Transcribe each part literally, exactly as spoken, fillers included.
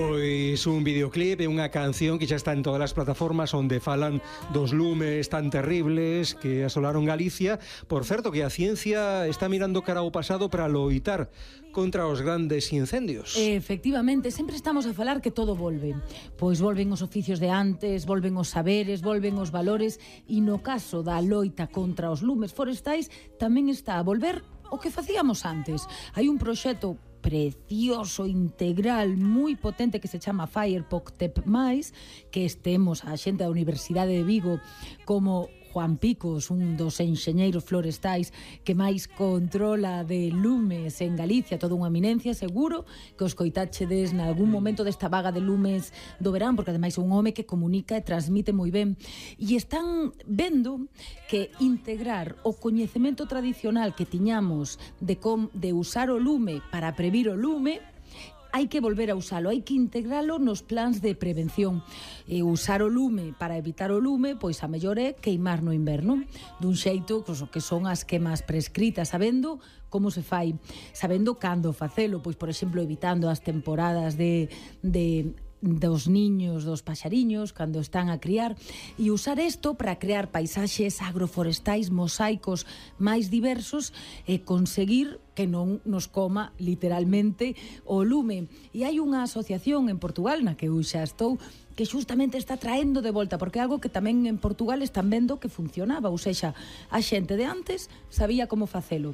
Pois un videoclip e unha canción que xa está en todas as plataformas onde falan dos lumes tan terribles que asolaron Galicia. Por certo, que a ciencia está mirando cara ao pasado para loitar contra os grandes incendios. Efectivamente, sempre estamos a falar que todo volve. Pois volven os oficios de antes, volven os saberes, volven os valores, e no caso da loita contra os lumes forestais tamén está a volver o que facíamos antes. Hai un proxecto precioso, integral, moi potente que se chama Fire Poctep máis, que estemos a xente da Universidade de Vigo como Juan Picos, un dos enxeñeiros florestais que máis controla de lumes en Galicia, toda unha eminencia, seguro que os coitáchedes nalgún momento desta vaga de lumes do verán, porque ademais é un home que comunica e transmite moi ben, e están vendo que integrar o coñecemento tradicional que tiñamos de, com, de usar o lume para previr o lume, hai que volver a usalo, hai que integralo nos plans de prevención. E usar o lume para evitar o lume, pois a mellor é queimar no inverno, dun xeito que son as quemas prescritas, sabendo como se fai, sabendo cando facelo, pois por exemplo evitando as temporadas de... de dos niños, dos paxariños cando están a criar, e usar isto para crear paisaxes agroforestais mosaicos máis diversos e conseguir que non nos coma literalmente o lume. E hai unha asociación en Portugal na que eu xa estou que xustamente está traendo de volta, porque é algo que tamén en Portugal están vendo que funcionaba, ou seja, a xente de antes sabía como facelo.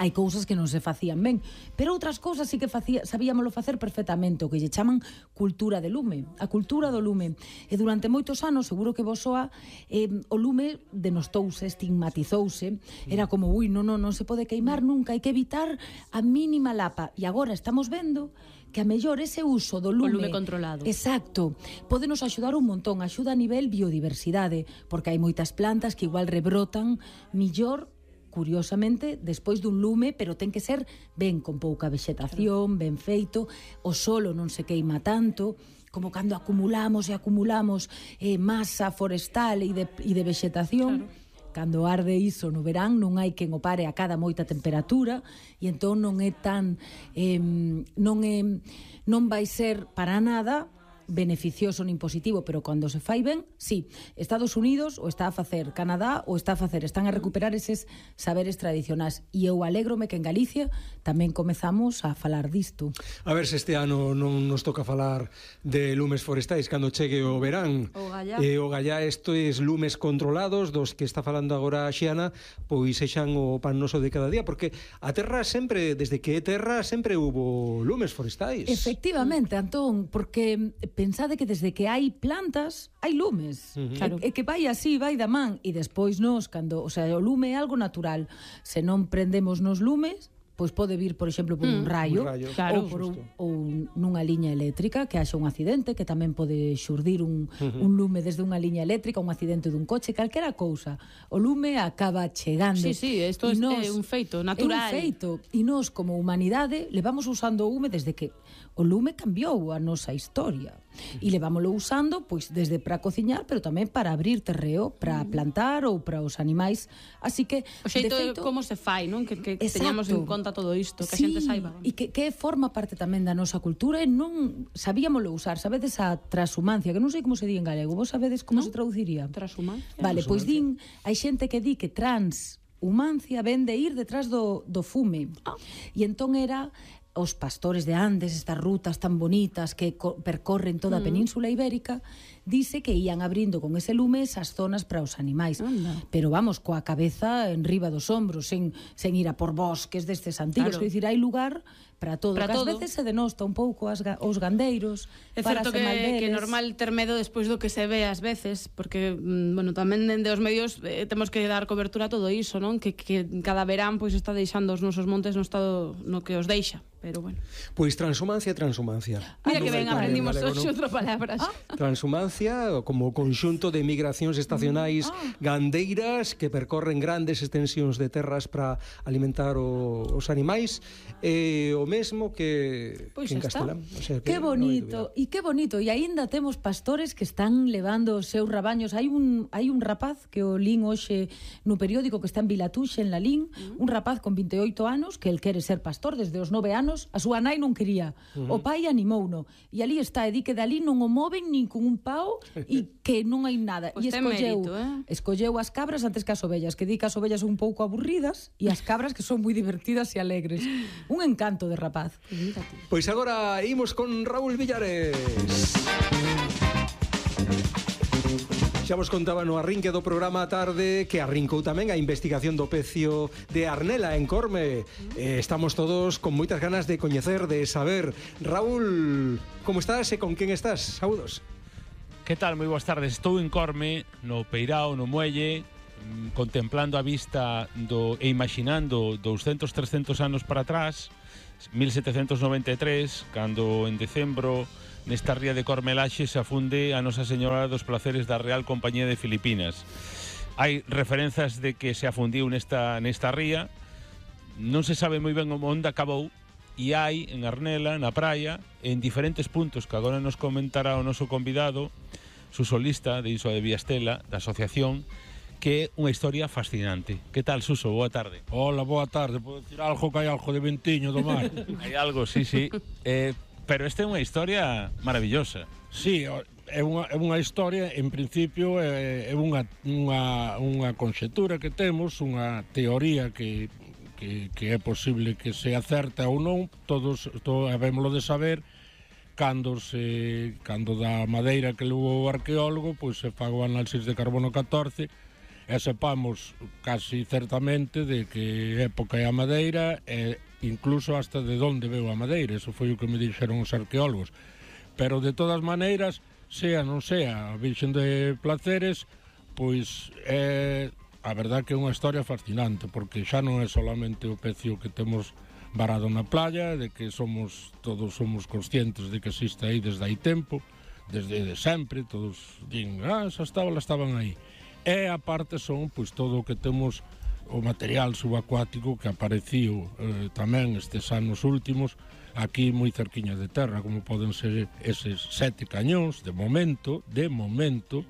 Hai cousas que non se facían ben, pero outras cousas sí que facía, sabíamoslo facer perfectamente, o que lle chaman cultura de lume, a cultura do lume. E durante moitos anos, seguro que vos soa, eh, o lume denostouse, estigmatizouse, era como, ui, non, non, non se pode queimar nunca, hai que evitar a mínima lapa. E agora estamos vendo que a mellor ese uso do lume, o lume controlado. Exacto, pode nos axudar un montón, axuda a nivel biodiversidade, porque hai moitas plantas que igual rebrotan millor, curiosamente, despois dun lume, pero ten que ser ben con pouca vexetación, ben feito, o solo non se queima tanto, como cando acumulamos e acumulamos eh, masa forestal e de, e de vexetación. Claro. Cando arde iso no verán non hai quen o pare a cada moita temperatura, e entón non é tan eh, non é non vai ser para nada beneficioso nin positivo, pero cando se fai ben, sí, Estados Unidos o está a facer, Canadá o está a facer, están a recuperar eses saberes tradicionais, e eu alégrome que en Galicia tamén comezamos a falar disto. A ver se este ano non nos toca falar de lumes forestais cando chegue o verán. O gallá. E o gallá, estes lumes controlados dos que está falando agora a Xiana, pois sexan o pan noso de cada día, porque a terra sempre, desde que é terra, sempre hubo lumes forestais. Efectivamente, Antón, porque pensade que desde que hai plantas hai lumes. Uh-huh. Claro. E, e que vai así, vai da man, e despois nos, cando, o sea, o lume é algo natural. Se non prendemos nos lumes, pois pode vir, por exemplo, por un rayo, un rayo. Claro, ou, por un, Justo. ou nunha liña eléctrica, que haxa un accidente, que tamén pode xurdir un, uh-huh. un lume desde unha liña eléctrica, un accidente dun coche, calquera cousa. O lume acaba chegando. Sí, sí, isto é un feito natural. É un feito, e nós, como humanidade, levamos usando o lume desde que o lume cambiou a nosa historia. E levámoslo usando, pois, desde para cociñar, pero tamén para abrir terreo, para plantar ou para os animais. Así que, o xeito de feito, como se fai, non? Que, que teñamos en conta todo isto, que sí, a xente saiba. E que, que forma parte tamén da nosa cultura, e non sabíamoslo usar. Sabedes a transhumancia, que non sei como se di en galego. Vos sabedes como ¿no? se traduciría? Transhumancia. Vale, pois din, hai xente que di que transhumancia ven de ir detrás do, do fume. Ah. E entón era os pastores de antes, estas rutas tan bonitas que percorren toda a Península Ibérica, dice que ían abrindo con ese lume esas zonas para os animais. Anda. Pero vamos, coa cabeza en riba dos ombros, sen, sen ir a por bosques destes antigos. Claro. Quer dicir, hai lugar para todo. Para que todo. Ás veces se denosta un pouco as, os gandeiros. É certo que, que é normal ter medo despois do que se ve ás veces, porque, bueno, tamén dende os medios eh, temos que dar cobertura a todo iso, non? Que, que cada verán pois está deixando os nosos montes no estado no que os deixa. Pero bueno. Pois transhumancia, transhumancia. Mira que ben aprendimos hoxe outra palabras. Ah. Transhumancia como conxunto de migracións estacionais ah. gandeiras que percorren grandes extensións de terras para alimentar o, os animais. E o mesmo que, Pois que en está. Castelán. O sea, Que bonito, e que bonito. E aínda temos pastores que están levando os seus rabaños. Hai un, hai un rapaz que o lín hoxe no periódico que está en Vilatuxe, en Lalín, uh-huh. un rapaz con vinte e oito anos que el quere ser pastor desde os nove anos. A súa nai non quería. Uh-huh. O pai animouno. E ali está, e di que dali non o moven nin con un pau e que non hai nada. Pues e escolleu, mérito, eh? escolleu as cabras antes que as ovellas, que di que as ovellas son un pouco aburridas e as cabras que son moi divertidas e alegres. Un encanto de rapaz. Pois agora imos con Raúl Villares. Xa vos contaba no arrinque do programa a tarde que arrincou tamén a investigación do pecio de Arnela en Corme. Eh, estamos todos con moitas ganas de coñecer, de saber. Raúl, como estás e con quen estás? Saúdos. Que tal? Moi boas tardes. Estou en Corme, no Peirao, no Muelle, contemplando a vista do, e imaginando douscentos, trescentos anos para atrás, mil setecentos noventa e tres, cando en decembro nesta ría de Cormelaxe se afunde a Nosa Señora dos Placeres da Real Compañía de Filipinas. Hai referenzas de que se afundiu nesta, nesta ría, non se sabe moi ben onde acabou, e hai en Arnela, na praia, en diferentes puntos que agora nos comentará o noso convidado, su solista de Iso de Viastela, da asociación, que é unha historia fascinante. Que tal, Suso? Boa tarde. Hola, boa tarde. Podo dicir algo que hai algo de ventiño do mar? Hai algo, sí, sí. Eh, pero esta é unha historia maravillosa. Sí, é unha, é unha historia, en principio, é, é unha, unha, unha conxetura que temos, unha teoría que, que, que é posible que se acerta ou non, todos to, habémoslo de saber, cando se cando da madeira que levou o arqueólogo, pois se fago análisis de carbono catorce, e sepamos casi certamente de que época é a madeira e incluso hasta de onde veu a madeira. Eso foi o que me dixeron os arqueólogos. Pero de todas maneiras, sea non sea a Virxen de Placeres, pois é a verdad que é unha historia fascinante, porque xa non é solamente o pecio que temos varado na playa, de que somos todos somos conscientes de que existe aí desde hai tempo, desde de sempre, todos din, ah, esas tablas estaban aí. E a parte son pois todo o que temos o material subacuático que apareciu eh, tamén estes anos últimos aquí moi cerquiña de terra, como poden ser eses sete cañóns de momento, de momento,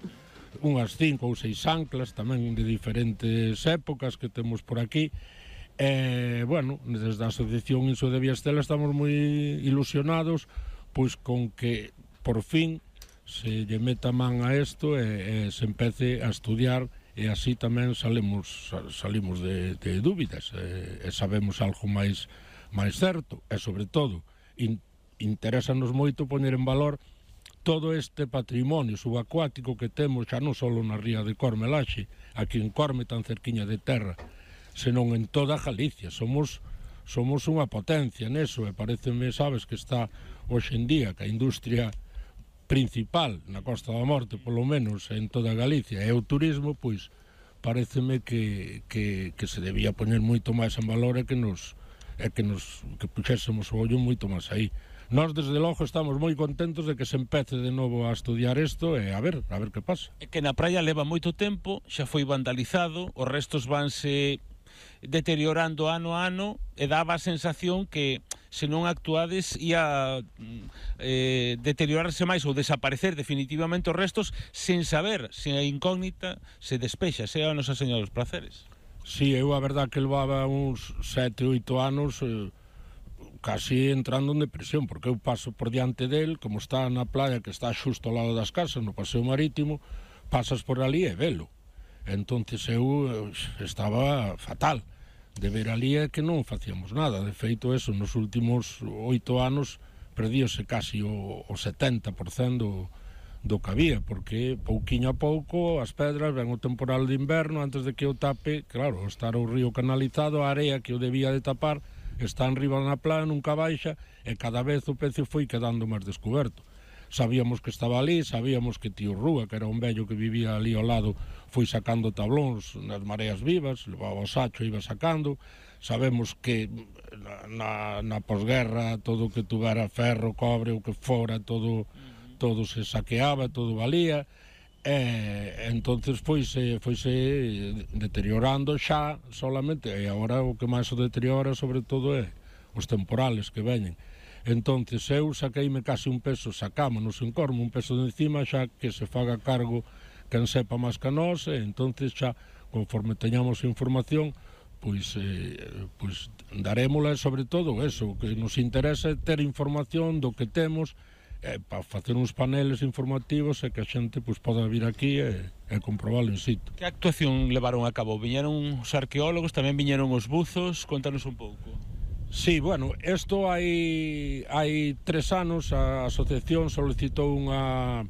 unhas cinco ou seis anclas tamén de diferentes épocas que temos por aquí. E, bueno, desde a Asociación Iso de Viastela estamos moi ilusionados pois con que por fin se lle meta man a isto e, e se empece a estudiar e así tamén salimos, salimos de, de dúbidas e, e sabemos algo máis, máis certo e sobre todo in, interésanos moito poñer en valor todo este patrimonio subacuático que temos xa non só na ría de Cormelaxe, aquí en Corme tan cerquiña de terra, senón en toda Galicia. Somos, somos unha potencia neso e pareceme, sabes, que está hoxe en día que a industria principal na Costa da Morte, polo menos en toda Galicia, e o turismo, pois pareceme que, que, que se debía poñer moito máis en valor e que nos e que nos que puxésemos o ollo moito máis aí. Nós, desde logo, estamos moi contentos de que se empece de novo a estudiar isto e a ver, a ver que pasa. É que na praia leva moito tempo, xa foi vandalizado, os restos vanse deteriorando ano a ano e daba a sensación que se non actuades ia eh, deteriorarse máis ou desaparecer definitivamente os restos sen saber se a incógnita se despexa, se a Nosa Señora dos Placeres. Si, sí, eu a verdad que levaba uns sete, oito anos eh, casi entrando en depresión, porque eu paso por diante del, como está na playa que está xusto ao lado das casas, no paseo marítimo, pasas por ali e velo. Entonces eu estaba fatal de ver ali que non facíamos nada. De feito, eso, nos últimos oito anos perdíose casi o, o setenta por cento do, do que había, porque pouquiño a pouco as pedras, ven o temporal de inverno, antes de que o tape, claro, estar o río canalizado, a area que o debía de tapar está enriba na playa, nunca baixa, e cada vez o pecio foi quedando máis descoberto. Sabíamos que estaba ali, sabíamos que tío Rúa, que era un vello que vivía ali ao lado, foi sacando tablóns nas mareas vivas, levaba o sacho e iba sacando. Sabemos que na, na posguerra todo o que tuvera ferro, cobre, o que fora, todo, todo se saqueaba, todo valía. E entonces foise, foise deteriorando xa solamente, e agora o que máis o deteriora sobre todo é os temporales que veñen. Entonces eu saqueime casi un peso, sacámonos en Corme un peso de encima, xa que se faga cargo quen sepa máis que nós, e entonces xa, conforme teñamos información, pois, eh, pois darémola, sobre todo eso, que nos interesa ter información do que temos, eh, para facer uns paneles informativos e que a xente pois, poda vir aquí e, e comprobalo in situ. Que actuación levaron a cabo? Viñeron os arqueólogos, tamén viñeron os buzos, contanos un pouco. Sí, bueno, isto hai, hai tres anos a asociación solicitou unha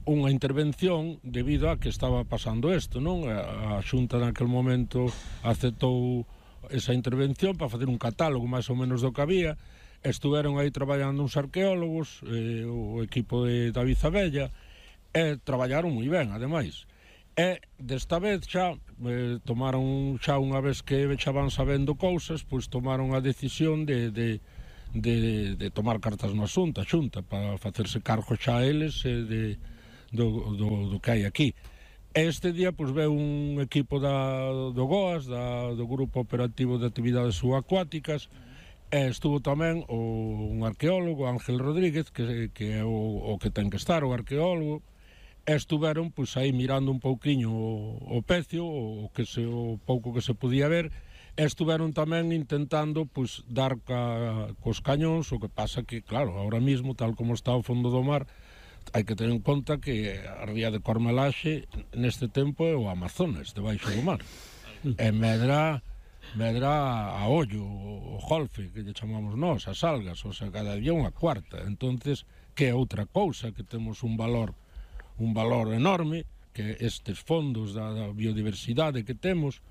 unha intervención debido a que estaba pasando isto, non? A, a Xunta naquel momento aceptou esa intervención para facer un catálogo máis ou menos do que había. Estuveron aí traballando uns arqueólogos, eh, o equipo de David Abella, e traballaron moi ben, ademais. E desta vez xa eh, tomaron xa unha vez que xa van sabendo cousas, pois tomaron a decisión de, de, de, de tomar cartas no asunto, a Xunta, para facerse cargo xa a eles e de Do, do, do que hai aquí. Este día pois veu un equipo da, do GOAS, da, do Grupo Operativo de Actividades Subacuáticas, e estuvo tamén o, un arqueólogo, Ángel Rodríguez, que, que é o, o que ten que estar, o arqueólogo, e estuveron pois aí mirando un pouquiño o, o pecio, o, que se, o pouco que se podía ver, e estuveron tamén intentando pois dar ca, cos cañóns, o que pasa que, claro, ahora mismo, tal como está o fondo do mar, hai que ter en conta que a ría de Cormelaxe neste tempo é o Amazonas, debaixo do mar. E medra, medra a ollo, o golfe, que lle chamamos nós, as algas, o sea, cada día unha cuarta. Entonces, que é outra cousa, que temos un valor, un valor enorme, que estes fondos da, da biodiversidade que temos,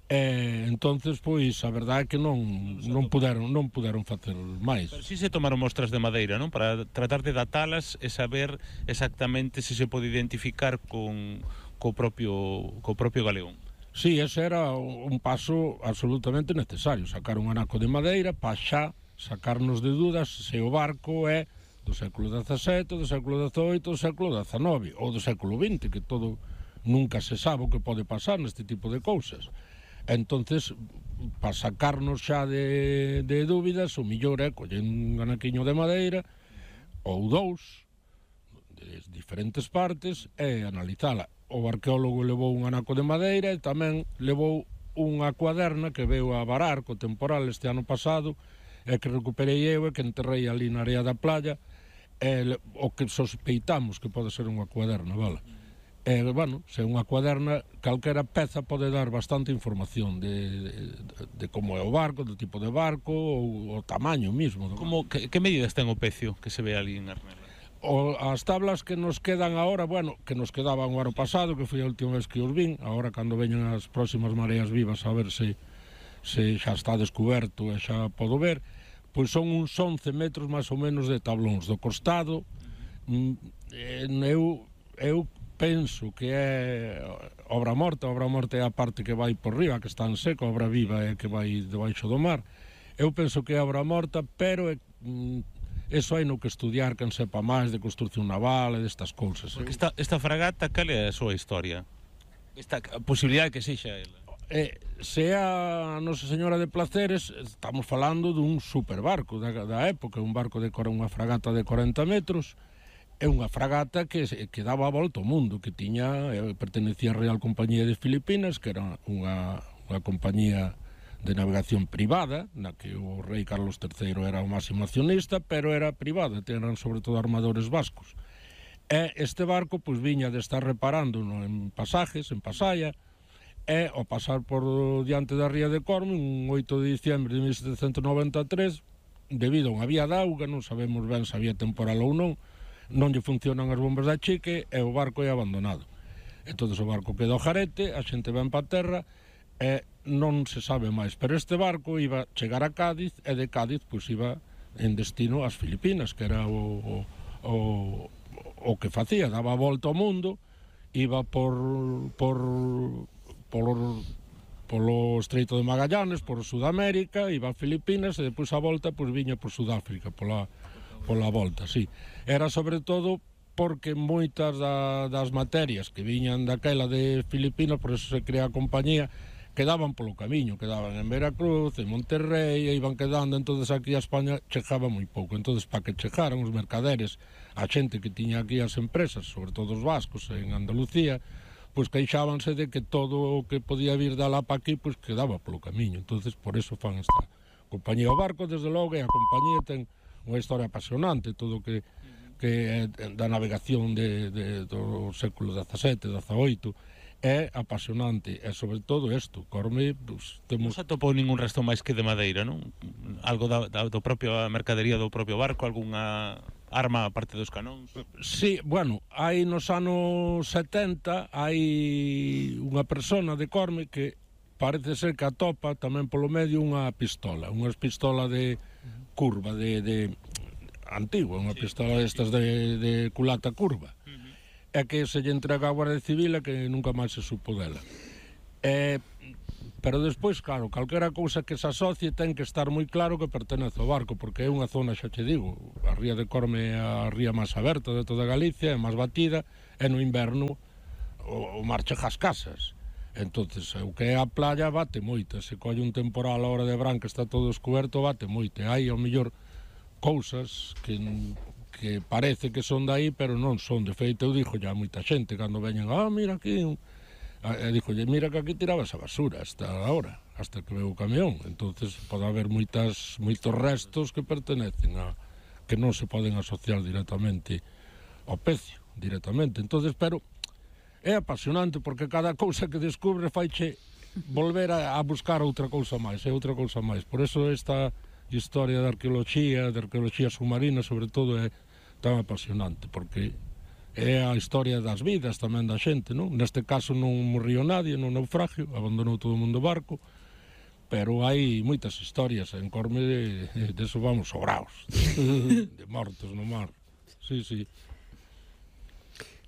e entonces pois a verdade é que non non puderon non puderon facer máis. Pero si se tomaron mostras de madeira, non? Para tratar de datalas e saber exactamente se se pode identificar con co propio co propio galeón. Sí, ese era un paso absolutamente necesario, sacar un anaco de madeira para xa sacarnos de dudas se o barco é do século dezasete, do século dezoito, do século dezanove ou do século vinte, que todo nunca se sabe o que pode pasar neste tipo de cousas. Entonces, para sacarnos xa de, de dúbidas, o millor é coller un anaquiño de madeira ou dous de diferentes partes e analizala. O arqueólogo levou un anaco de madeira e tamén levou unha cuaderna que veu a varar co temporal este ano pasado e que recuperei eu e que enterrei ali na area da playa, e o que sospeitamos que pode ser unha cuaderna, vale? E, bueno, se unha cuaderna, calquera peza pode dar bastante información de, de, de como é o barco, do tipo de barco, ou o tamaño mismo. Como, que, que medidas ten o pecio que se ve ali en Arnela? O, as tablas que nos quedan agora, bueno, que nos quedaban o ano pasado, que foi a última vez que os vin, agora cando veñen as próximas mareas vivas a ver se, se xa está descoberto e xa podo ver, pois son uns once metros máis ou menos de tablóns do costado. Eu, eu penso que é obra morta, obra morta é a parte que vai por riba, que está en seco, a obra viva é que vai debaixo do mar. Eu penso que é obra morta, pero é, mm, eso hai no que estudiar, quen sepa máis de construcción naval e destas cousas. Porque esta, esta fragata, cal é a súa historia? Esta posibilidade que sexa ela? Eh, se a Nosa Señora de Placeres, estamos falando dun superbarco da, da época, un barco de unha fragata de corenta metros, é unha fragata que, que daba a volta ao mundo, que tiña, eh, pertenecía á Real Compañía de Filipinas, que era unha, unha compañía de navegación privada, na que o rei Carlos terceiro era o máximo accionista, pero era privada, eran sobre todo armadores vascos. E este barco, pois, viña de estar reparando no, en pasajes, en Pasaya, e ao pasar por diante da ría de Corme, un oito de diciembre de mil setecentos noventa e tres, debido a unha vía de auga, non sabemos ben se había temporal ou non, non lle funcionan as bombas da chique e o barco é abandonado. Entón o barco queda ao jarete, a xente ven pa terra e non se sabe máis. Pero este barco iba chegar a Cádiz e de Cádiz pois iba en destino ás Filipinas, que era o, o, o que facía, daba a volta ao mundo, iba por por por polo Estreito de Magallanes, por Sudamérica, iba a Filipinas e depois a volta pois viña por Sudáfrica, pola pola volta, sí. Era sobre todo porque moitas da, das materias que viñan daquela de Filipinas, por eso se crea a compañía, quedaban polo camiño, quedaban en Veracruz, en Monterrey, e iban quedando, entonces aquí a España chegaba moi pouco. Entonces, para que chegaran os mercaderes, a xente que tiña aquí as empresas, sobre todo os vascos en Andalucía, pois queixábanse de que todo o que podía vir de alá para aquí, pois quedaba polo camiño. Entonces, por eso fan esta compañía. O barco, desde logo, e a compañía ten unha historia apasionante, todo o que, que é da navegación de, de, do século dezasete, dezaoito, é apasionante, e sobre todo isto, Corme, pues, temos... Non se atopou ningún resto máis que de madeira, non? Algo da, da do propio mercadería do propio barco, algunha arma aparte dos canóns? Sí, bueno, hai nos anos setenta hai unha persona de Corme que parece ser que atopa tamén polo medio unha pistola, unha pistola de curva, de, de antigua, unha sí, pistola destas de, de culata curva. É que se lle entrega a Guardia Civil e que nunca máis se supo dela. Eh, pero despois, claro, calquera cousa que se asocie ten que estar moi claro que pertenece ao barco, porque é unha zona, xa che digo, a ría de Corme é a ría máis aberta de toda Galicia, é máis batida, e no inverno o, o mar chega ás casas. Entonces, o que é a playa bate moito, se colle un temporal a hora de verán que está todo descoberto, bate moito. Hai, ao mellor, cousas que... que parece que son dai, pero non son. De feito, eu dixo ya moita xente, cando veñen, ah, mira aquí, e dixo, mira que aquí tirabas a basura hasta ahora, hasta que veo o camión. Entonces pode haber moitas, moitos restos que pertenecen a, que non se poden asociar directamente ao pecio, directamente. Entonces, pero é apasionante, porque cada cousa que descubre faiche volver a, a buscar outra cousa máis, é outra cousa máis. Por eso esta historia de arqueoloxía, de arqueoloxía submarina, sobre todo, é tan apasionante, porque é a historia das vidas tamén da xente, non? Neste caso non morriu nadie no naufragio, abandonou todo o mundo o barco, pero hai moitas historias en Corme de, de eso vamos sobraos, de, de mortos no mar. Sí, sí.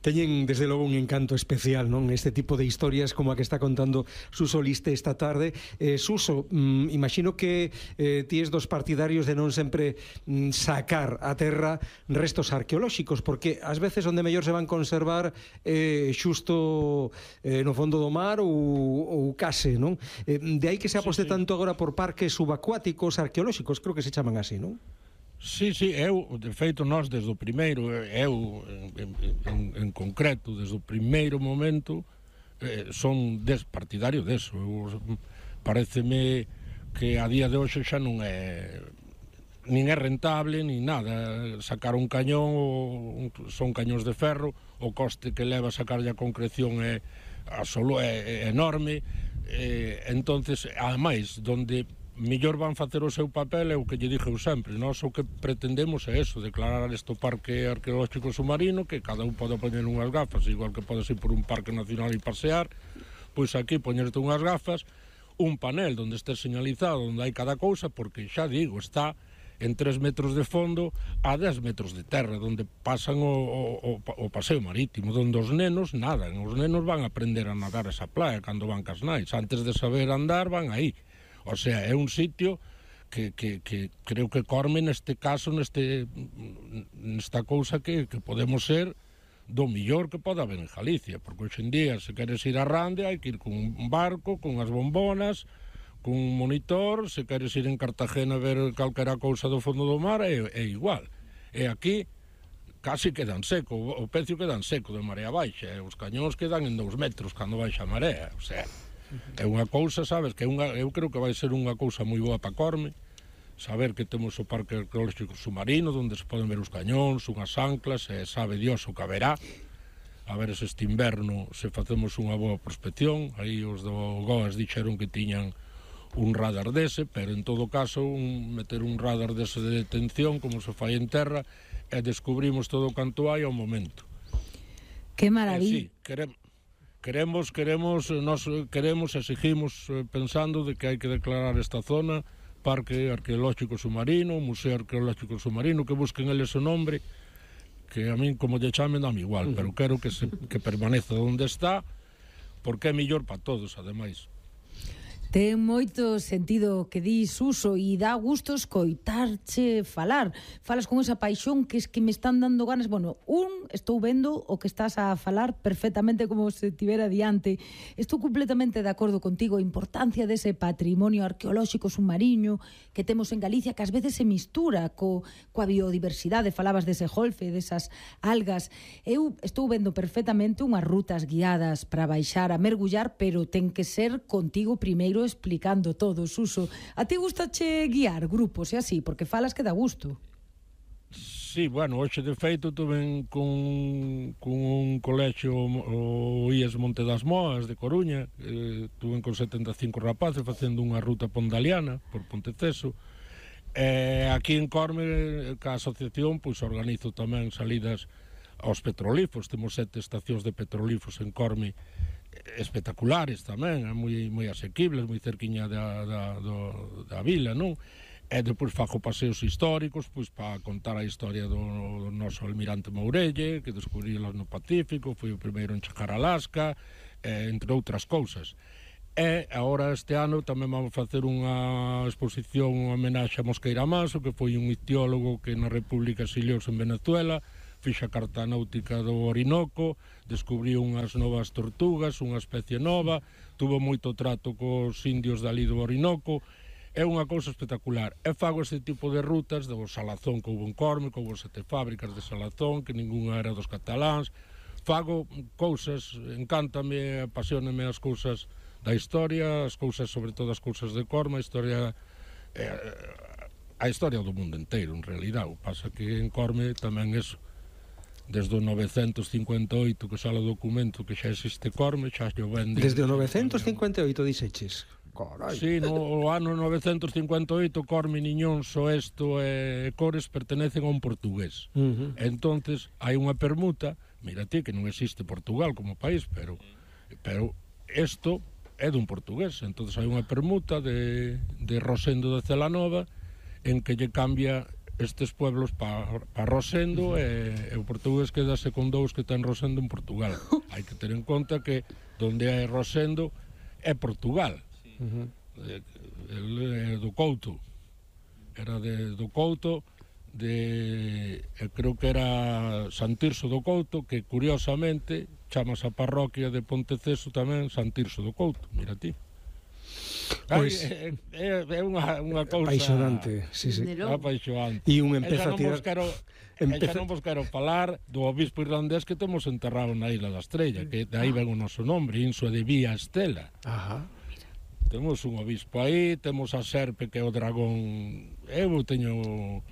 Teñen, desde logo, un encanto especial, non? Este tipo de historias como a que está contando Suso Liste esta tarde. Eh, Suso, mm, imagino que eh, ti es dos partidarios de non sempre mm, sacar a terra restos arqueolóxicos, porque ás veces onde mellor se van conservar eh, xusto eh, no fondo do mar ou, ou case, non? Eh, de aí que se aposte sí, sí. tanto agora por parques subacuáticos arqueolóxicos, creo que se chaman así, non? Sí, sí, eu, de feito, nós desde o primeiro, eu en, en, en concreto, desde o primeiro momento, eh, son des, partidario deso. Eu, pareceme que a día de hoxe xa non é nin é rentable, nin nada. Sacar un cañón, o, son cañóns de ferro, o coste que leva a sacarlle a concreción é, a solo é, é enorme, eh, entonces, ademais, donde mellor van facer o seu papel é o que lle dixo eu sempre. Nós o que pretendemos é eso, declarar este parque arqueolóxico submarino, que cada un pode poñer unhas gafas, igual que podes ir por un parque nacional e pasear, pois aquí poñerte unhas gafas, un panel onde este señalizado onde hai cada cousa, porque xa digo, está en tres metros de fondo a dez metros de terra, onde pasan o, o, o paseo marítimo, onde os nenos nadan, os nenos van a aprender a nadar esa playa cando van cas nais, antes de saber andar van aí. O sea, é un sitio que, que, que creo que Corme neste caso, neste, nesta cousa que, que podemos ser do millor que pode haber en Galicia, porque hoxe en día, se queres ir a Rande, hai que ir con un barco, con as bombonas, con un monitor, se queres ir en Cartagena a ver calquera cousa do fondo do mar, é, é igual. E aquí casi quedan seco, o pecio quedan seco de marea baixa, e os cañóns quedan en dous metros cando baixa a marea, o sea... É unha cousa, sabes, que é unha, eu creo que vai ser unha cousa moi boa para Corme, saber que temos o parque arqueolóxico submarino, onde se poden ver os cañóns, unhas anclas, e sabe Dios o que haberá. A ver se este inverno se facemos unha boa prospección, aí os do Goas dixeron que tiñan un radar dese, pero en todo caso un, meter un radar dese de detención, como se fai en terra, e descubrimos todo o canto hai ao momento. Que maravilla. Eh, sí, queremos... Queremos, queremos, nos queremos, exigimos pensando de que hai que declarar esta zona Parque Arqueolóxico Submarino, Museo Arqueolóxico Submarino, que busquen eles o nombre, que a min como lle chamen dame igual, uh-huh. pero quero que, se, que permaneza onde está, porque é mellor para todos, ademais. Ten moito sentido que dis, Suso, e dá gusto escoitarche falar. Falas con esa paixón que es que me están dando ganas. Bueno, un, estou vendo o que estás a falar perfectamente como se tivera diante. Estou completamente de acordo contigo. A importancia dese patrimonio arqueolóxico submarino que temos en Galicia, que ás veces se mistura co, coa biodiversidade. Falabas dese golfe, desas algas. Eu estou vendo perfectamente unhas rutas guiadas para baixar a mergullar, pero ten que ser contigo primeiro explicando todo, Suso. A ti gustache guiar grupos e así, porque falas que dá gusto. Sí, bueno, hoxe de feito tuve con, con un colexio o I E S Monte das Moas de Coruña, eh, tuve con setenta e cinco rapaces facendo unha ruta pondaliana por Ponteceso. Eh, aquí en Corme, ca asociación, pois organizo tamén salidas aos petrolíferos. Temos sete estacións de petrolíferos en Corme espectaculares tamén, moi, moi asequibles, moi cerquiña da, da, do, da vila, non? E depois fago paseos históricos, pois para contar a historia do, do noso almirante Mourelle, que descubrilas no Pacífico, foi o primeiro en chegar a Alaska, eh, entre outras cousas. E agora este ano tamén vamos facer unha exposición, unha homenaxe a Mosqueira Manso, que foi un ictiólogo que na República exiliouse en Venezuela, fixa a carta náutica do Orinoco, descubriu unhas novas tortugas, unha especie nova, tuvo moito trato cos indios dali do Orinoco. É unha cousa espectacular. E fago este tipo de rutas do salazón que houve en Corme, que houve sete fábricas de salazón, que ningunha era dos cataláns. Fago cousas, encántame, apasioname as cousas da historia, as cousas, sobre todo as cousas de Corme, a historia... Eh, a historia do mundo inteiro, en realidad. O pasa que en Corme tamén eso. Desde o novecentos cincuenta e oito que sale o documento que xa existe Corme, xa xo vende... Desde o novecentos cincuenta e oito dixeches. Carai. Sí, no ano novecentos cincuenta e oito Corme, Niñón, Soesto e Cores pertenecen a un portugués. Uh -huh. Entonces hai unha permuta, mira ti que non existe Portugal como país, pero pero isto é dun portugués. Entonces hai unha permuta de, de Rosendo de Celanova en que lle cambia estes pueblos para pa Rosendo, e, e o portugués quedase con dous que ten Rosendo en Portugal. Hai que ter en conta que donde hai Rosendo é Portugal. Uh -huh. El é do Couto. Era de, do Couto, de, creo que era San Tirso do Couto, que curiosamente chamas a parroquia de Ponteceso tamén San Tirso do Couto. Mira ti. Pois é, é, é unha, unha cousa apaixonante, sí, sí. apaixonante. E un empeza a tirar... Quero, empeza... non vos quero falar do obispo irlandés que temos enterrado na Isla da Estrella, que de aí ven o noso nombre, Insua de Vía Estela. Ajá. Temos un obispo aí, temos a serpe que é o dragón. Eu teño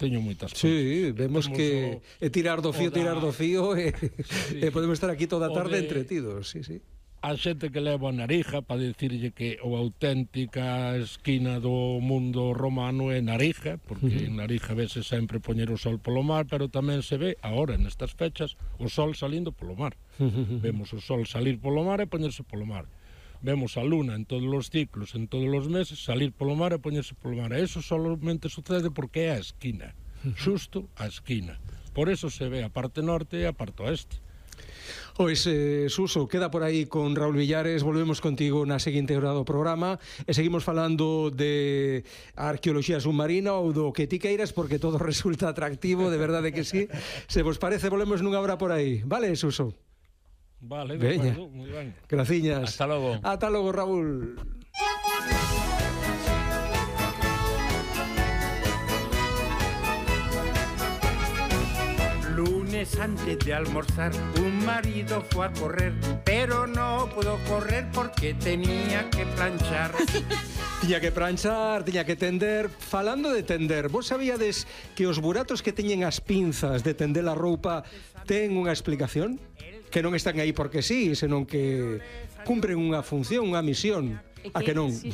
teño moitas cousas. Sí, vemos temos que o, é tirar do fío, da... tirar do fío e, sí. E podemos estar aquí toda a tarde de... entretidos, sí, sí. A xente que leva a Narija para dicirlle que a auténtica esquina do mundo romano é Narija, porque uh -huh. en Narija vese sempre poñer o sol polo mar, pero tamén se ve, agora, nestas fechas, o sol salindo polo mar. Uh -huh. Vemos o sol salir polo mar e poñerse polo mar. Vemos a luna en todos os ciclos, en todos os meses, salir polo mar e poñerse polo mar. E iso solamente sucede porque é a esquina, xusto a esquina. Por eso se ve a parte norte e a parte oeste. Pois, eh, Suso, queda por aí con Raúl Villares. Volvemos contigo na seguinte hora do programa e seguimos falando de arqueoloxía submarina ou do que ti queiras, porque todo resulta atractivo, de verdade que sí. Se vos parece, volvemos nunha hora por aí. Vale, Suso? Vale, de acuerdo, moi ben. Graciñas. Hasta logo. Hasta logo, Raúl. Lunes antes de almorzar, un marido fue a correr, pero no pudo correr porque tenía que planchar. Tiña que planchar, tiña que tender. Falando de tender, vos sabíades que os buratos que teñen as pinzas de tender a roupa ten unha explicación? Que non están aí porque sí, senón que cumpren unha función, unha misión. A que non? Sí,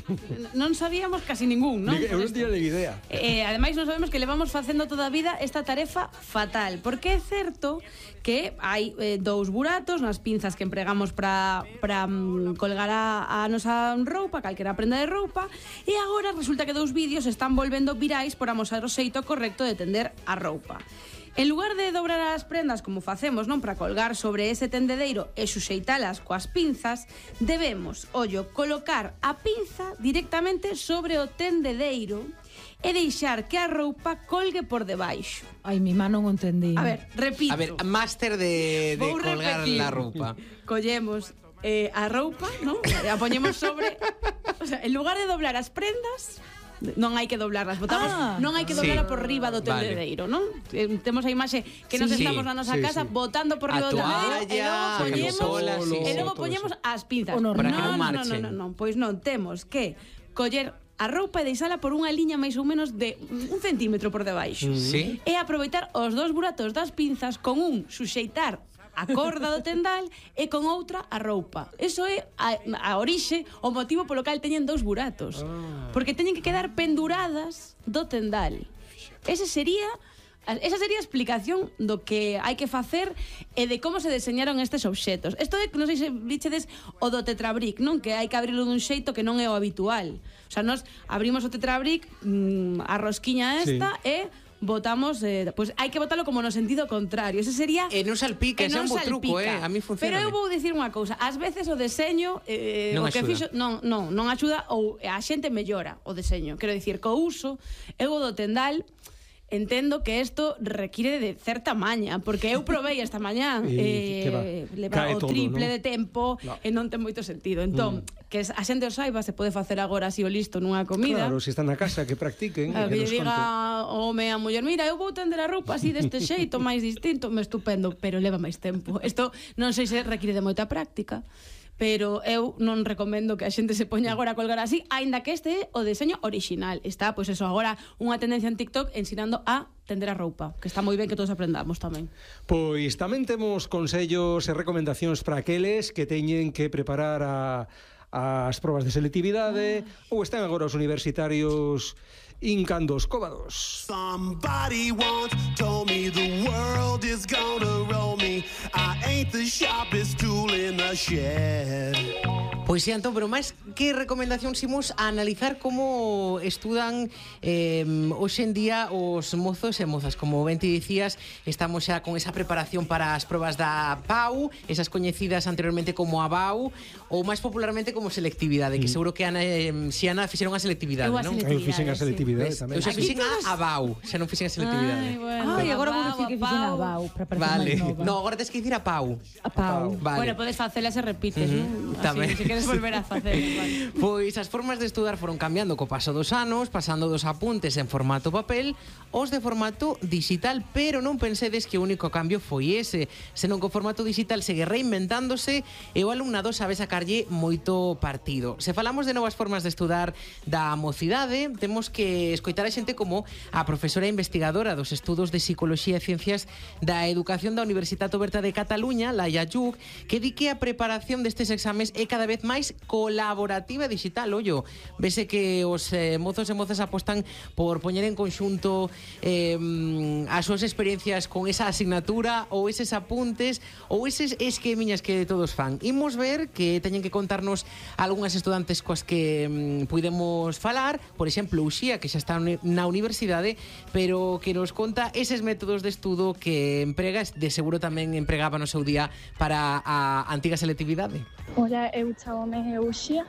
non sabíamos casi ningún, non? Eu non tiña ni idea. Eh, ademais, non sabemos que levamos facendo toda a vida esta tarefa fatal, porque é certo que hai eh, dous buratos nas pinzas que empregamos para para um, colgar a, a nosa roupa, calquera prenda de roupa, e agora resulta que dous vídeos están volvendo virais por amosar o xeito correcto de tender a roupa. En lugar de dobrar as prendas como facemos, non, para colgar sobre ese tendedeiro e suxeitalas coas pinzas, debemos, ollo, colocar a pinza directamente sobre o tendedeiro e deixar que a roupa colgue por debaixo. Ai, mi má non o entendí. A ver, repito. A ver, máster de, de Vou colgar repetir. la roupa. Collemos eh, a roupa, non? E a poñemos sobre... O sea, en lugar de doblar as prendas, non hai que doblarlas, botamos, Ah. non hai que doblarla Sí. por riba do tendedeiro, non? Eh, Temos a imaxe que nos Sí, estamos na nosa sí, casa sí. botando por A riba do tendedeiro e toalla, logo poñemos, camisola, sí, e sí, logo todo poñemos eso. as pinzas. O normal. Para que non no, no, marchen. no, no, no, pois non, temos que coller a roupa e deixala por unha liña máis ou menos de un centímetro por debaixo. Sí. E aproveitar os dous buratos das pinzas con un suxeitar a corda do tendal e con outra a roupa. Eso é a, a orixe, o motivo polo cal teñen dous buratos. Porque teñen que quedar penduradas do tendal. Ese sería Esa sería a explicación do que hai que facer e de como se deseñaron estes obxetos. Isto é, non sei se vichedes o do tetrabric, non? Que hai que abrilo dun xeito que non é o habitual. O sea, nos abrimos o tetrabric, mmm, a rosquiña esta, sí. e botamos, eh, pues hai que botalo como no sentido contrario. Ese sería... E non salpica, ese é un bo truco, eh? A mí funciona. Pero eu vou dicir unha cousa, ás veces o deseño eh, non o que axuda. fixo, non, non, non axuda ou a xente mellora o deseño. Quero dicir, co uso, eu o do tendal entendo que isto require de certa maña, porque eu provei esta mañá E, que va, eh, leva cae o todo, triple non? de tempo No. e non ten moito sentido. Entón, mm. que a xente o saiba, se pode facer agora así o listo nunha comida. Claro, se están na casa, que practiquen. A e que nos lle diga conten. o home a muller, mira, eu vou tender a roupa así deste xeito, máis distinto, me estupendo, pero leva máis tempo. Isto non sei se require de moita práctica, pero eu non recomendo que a xente se poña agora a colgar así, aínda que este é o deseño orixinal. Está, pois eso, agora unha tendencia en TikTok ensinando a tender a roupa, que está moi ben que todos aprendamos tamén. Pois tamén temos consellos e recomendacións para aqueles que teñen que preparar a, as probas de selectividade ah. ou están agora os universitarios hincando os cóbados. Somebody once told me the world is gonna roll me. I ain't the sharpest tool in the shed. Pois sí, Antón, pero máis que recomendación imos a analizar como estudan eh, hoxe en día os mozos e mozas. Como ben te dicías, estamos xa con esa preparación para as probas da P A U, esas coñecidas anteriormente como a B A U, ou máis popularmente como selectividade, que seguro que Ana, eh, si Ana fixeron a selectividade, Eu a non? selectividade. Eu fixen a selectividade Ves? tamén. Eu xa Aquí fixen a, todos- a B A U, xa non fixen a selectividade. Ai, bueno. Ai, agora vou A dicir que Pau, fixen a Pau. Bau, para parecer Vale. máis nova. No, agora tens que dicir a P A U. A Pau. Vale. Bueno, podes facelas e repites, Ujú, non? tamén. Así, se queres volver a facer. Vale. Pois as formas de estudar foron cambiando co paso dos anos, pasando dos apuntes en formato papel aos de formato digital, pero non pensedes que o único cambio foi ese, senón que o formato digital segue reinventándose e o alumnado sabe sacarlle moito partido. Se falamos de novas formas de estudar da mocidade, temos que escoitar a xente como a profesora investigadora dos estudos de Psicoloxía e Ciencias da Educación da Universitat Oberta de Cataluña, Laia Lluc, que di que a preparación destes exames é cada vez máis colaborativa e digital. Ollo, vese que os eh, mozos e mozas apostan por poñer en conxunto eh, as súas experiencias con esa asignatura ou eses apuntes ou eses esquemiñas que todos fan. Imos ver que teñen que contarnos algunhas estudantes coas que mm, puidemos falar, por exemplo, Uxía, que xa está na universidade, pero que nos conta eses métodos de estudo que emprega, de seguro tamén empregaba no seu día para a antiga selectividade. Ola, eu chamome Uxía,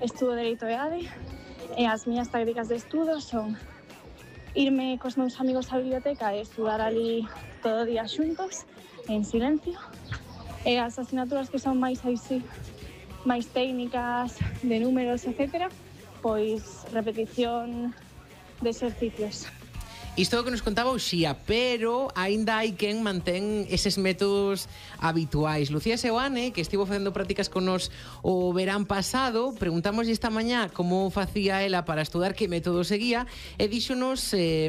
estudo Dereito e A D e as miñas tácticas de estudo son irme cos meus amigos á biblioteca e estudar ali todo o día xuntos, en silencio, e as asignaturas que son máis así, máis técnicas, de números, etcétera, pois repetición de exercicios. Isto é o que nos contaba Uxía, pero aínda hai quen mantén eses métodos habituais. Lucía Seoane, que estivo facendo prácticas con nos o verán pasado, preguntamos esta mañá como facía ela para estudar, que método seguía, e díxonos, eh,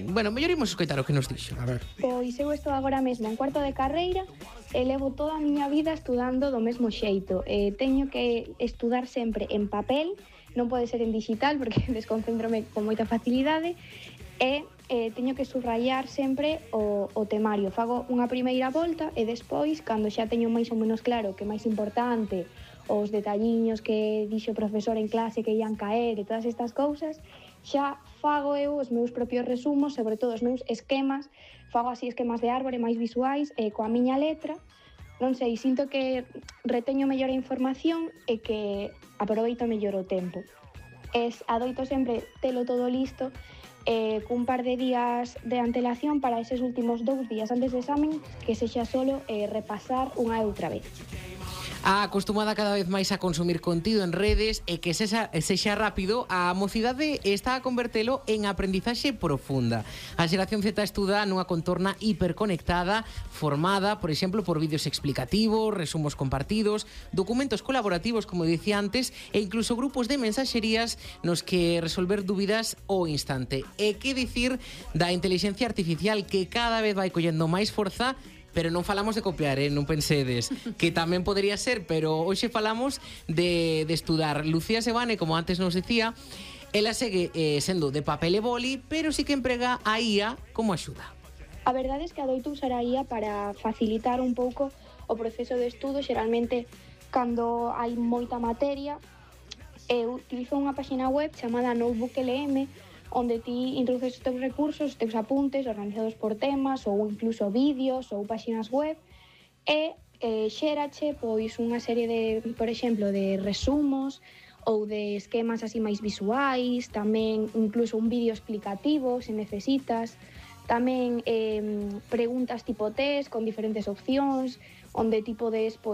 bueno, mellor imos escoitar o que nos dixo. A ver. Pois eu estou agora mesmo en cuarto de carreira e levo toda a miña vida estudando do mesmo xeito. E teño que estudar sempre en papel, non pode ser en digital porque desconcéntrome con moita facilidade, e eh, teño que subrayar sempre o, o temario. Fago unha primeira volta e despois, cando xa teño máis ou menos claro que é máis importante os detalliños que dixo o profesor en clase que ian caer e todas estas cousas, xa fago eu os meus propios resumos, sobre todo os meus esquemas, fago así esquemas de árbore máis visuais e coa miña letra, non sei, sinto que reteño mellor a información e que aproveito mellor o tempo. Es, adoito sempre telo todo listo eh, cun par de días de antelación para eses últimos dous días antes do examen, que sexa solo eh, repasar unha e outra vez. A acostumada cada vez máis a consumir contido en redes e que sexa, sexa rápido, a mocidade está a convertelo en aprendizaxe profunda. A xeración Z estuda nunha contorna hiperconectada, formada, por exemplo, por vídeos explicativos, resumos compartidos, documentos colaborativos, como dicía antes, e incluso grupos de mensaxerías nos que resolver dúbidas ao instante. E que dicir da inteligencia artificial que cada vez vai collendo máis forza, pero non falamos de copiar, eh? Non pensedes, que tamén podería ser, pero hoxe falamos de, de estudar. Lucía Sebane, como antes nos decía, ela segue eh, sendo de papel e boli, pero sí que emprega a I A como axuda. A verdade é que adoito usar a I A para facilitar un pouco o proceso de estudo. Xeralmente, cando hai moita materia, eu utilizo unha página web chamada Notebook L M, onde ti introduces os teus recursos, os teus apuntes organizados por temas ou incluso vídeos ou páxinas web e eh, xérache pois unha serie de, por exemplo, de resumos ou de esquemas así máis visuais, tamén incluso un vídeo explicativo se necesitas, tamén eh, preguntas tipo test con diferentes opcións onde ti podes